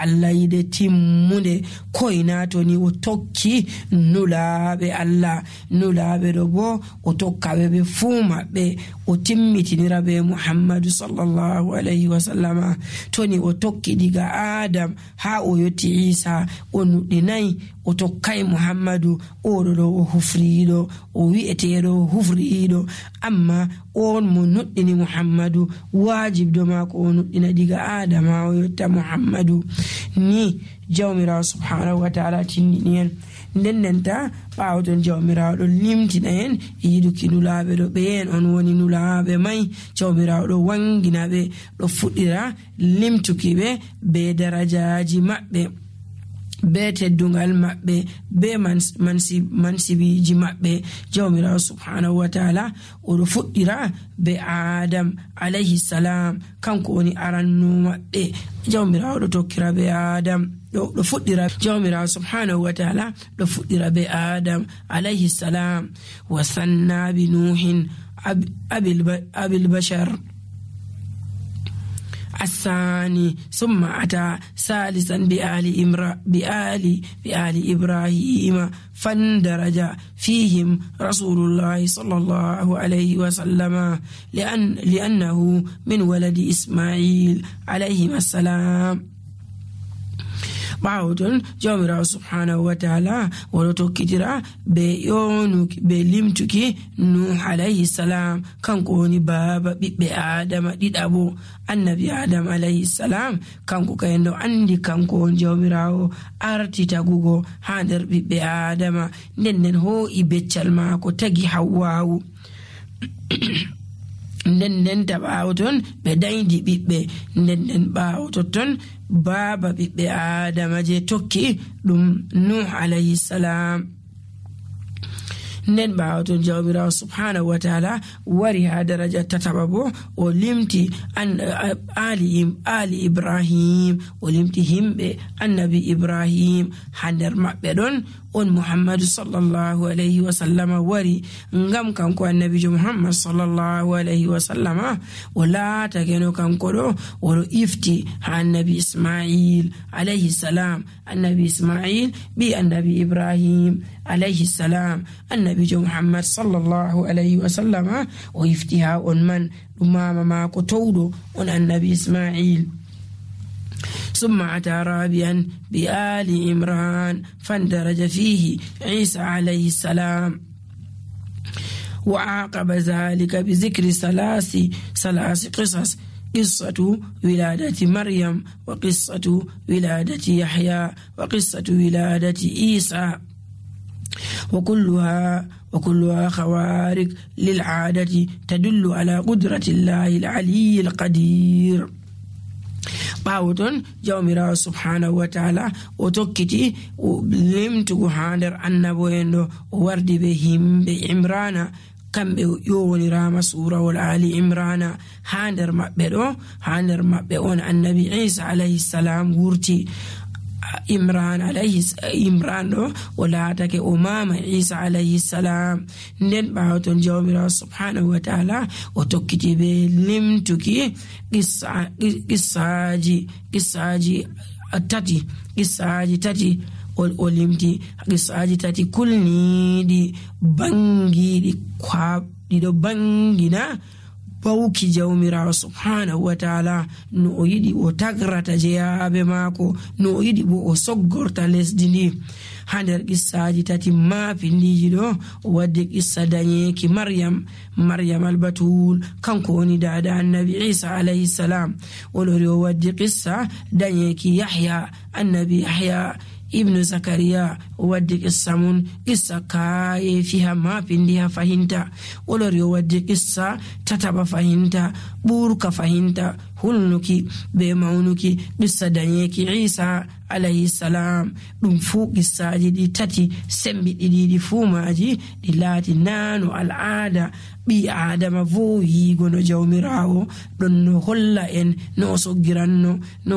Allah yide timmunde koynatoni o tokki nulaaɓe Allah. Nulaaɓe ɗo bo o tokkaɓe ɓe fuu maɓɓe o timmitinira be Muhammadu sallallahu alayhi wa sallama. Toni o tokki diga Adam haa o yotti Isa o nuɗɗinayi o tokkay Muhammadu, oɗo ɗo o hufriiɗo, o wi'eteeɗo o hufriiɗo, amma on mo nuɗɗini Muhammadu waajibdo maako o nuɗɗina diga Adam haa o yotta Muhammadu. Ni jawmirawo subhanahu wa ta'ala tindini en. Ndennenta ɓaawo ton jawmirawo ɗo limtina en yiduki nulaaɓe ɗo, ɓeen on woni nulaaɓe may. Jawmirawo ɗo wangina ɓe, ɗo fuɗɗira limtuki ɓe be darajaaji maɓɓe, be teddungal maɓɓe, be mansibiji maɓɓe. Jawmirawo subhanahu wa ta'ala oɗo fuɗɗira be Adam alayhi salam, kanko woni aranno maɓɓe. Jawmirawo ɗo tokkira be Adam, ɗo fuɗɗira. Jawmirawo subhanahu wa ta'ala ɗo fuɗɗira be Adam alayhi salam. Wa sanna bi Nuhin abil bashar الثاني ثم أتى ثالثا بآل إبراهيم فاندرج فيهم رسول الله صلى الله عليه وسلم لأنه من ولد إسماعيل عليه السلام. Bawton jawmirawo subhanahu wa ta'ala wala tokkitira be yonuki be limtuki Nuh alayhi salam, kanko woni baba ɓiɓɓe Adama ɗiɗabo. Annabi Adam alayhi salam kanko kayendo andi kanko on jawmirawo arti tagugo ha nder ɓiɓɓe Adama. Nden ho'i beccal maako tagi Hawwawu. Nden ɓaawo ton ɓe daydi ɓiɓɓe. Nden ɓaawo totton baaba ɓiɓɓe Adama je tokki ɗum Nuh alayhi salam. Nden ɓaawo ton jawmirawo subhanahu wa ta'ala wari ha daraja tataɓa bo o limti ali Ibrahim, o limti himɓe annabi Ibrahim. ha nder maɓɓe ɗon on Muhammadu sallallahu alayhi wa sallama wari, ngam kanko annabijo Muhammad sallallahu alayhi wa sallama o laatake no kanko ɗo oɗo ifti ha annabi Ismail alayhi salam. Annabi Ismail bi annabi Ibrahim alayhi salam. Annabijo Muhammad sallallahu alayhi wa sallama o ifti ha on man ɗum mama maako towɗo on annabi Ismail. ثم أتى رابعا بآل عمران فاندرج فيه عيسى عليه السلام. وعاقب ذلك بذكر ثلاث قصص: قصة ولادة مريم، وقصة ولادة يحيى، وقصة ولادة عيسى، وكلها خوارق للعادة تدل على قدرة الله العلي القدير. Bawton jawmirawo subhanahu wa ta'ala o tokkiti o limtugo ha nder annabo en ɗo o wardi be himɓe Imrana, kamɓe yowonirama surawol Ali Imrana. ha nder maɓɓe on annabi Isa alayhi salam wurti. Imran ɗo o laatake o mama Isa alayhi salam. Nden ɓawton jawmirawo subhanahu wa ta'ala o tokkiti be limtuki qissaji tati o limti qissaji tati kulniɗi bangiɗi kwaɗi ɗo bangina bawki jawmirawo subhanahu wa ta'ala no o yiɗi o tagrata jeyaɓe maako, no o yiɗi bo o soggorta lesdi ndi. ha nder qissaji tati mapindiji ɗo o waddi qissa dañeki maryam albatul, kanko woni dada annabi Isa alayhi salam. o lori o waddi qissa dañeki Yahya, annabi Yahya ibnu Zakariya. o waddi qissa mun qissa kaye fiha mapindiha fahinta. o lori o waddi qissa tataɓa fahinta, ɓurka fahinta, hulnuki be maunuki qissa dañeki Isa alayhi salam. ɗum fuu qissaji ɗi tati sembiɗiɗi fuu maji ɗi laati nano al'ada ɓi Adama vowigo no jawmirawo ɗon no holla en no o soggiranno, no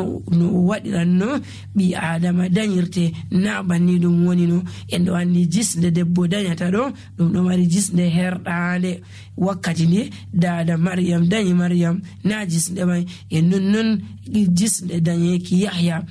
o waɗiranno ɓi Adama dañirte na banni ɗum woni no. en ɗo andi jisde debbo dañata ɗo ɗum ɗo mari jisde herɗande. wakkati nde dada Maryam dañi Maryam na jisde mai, e nonnon jisde dañeki Yahya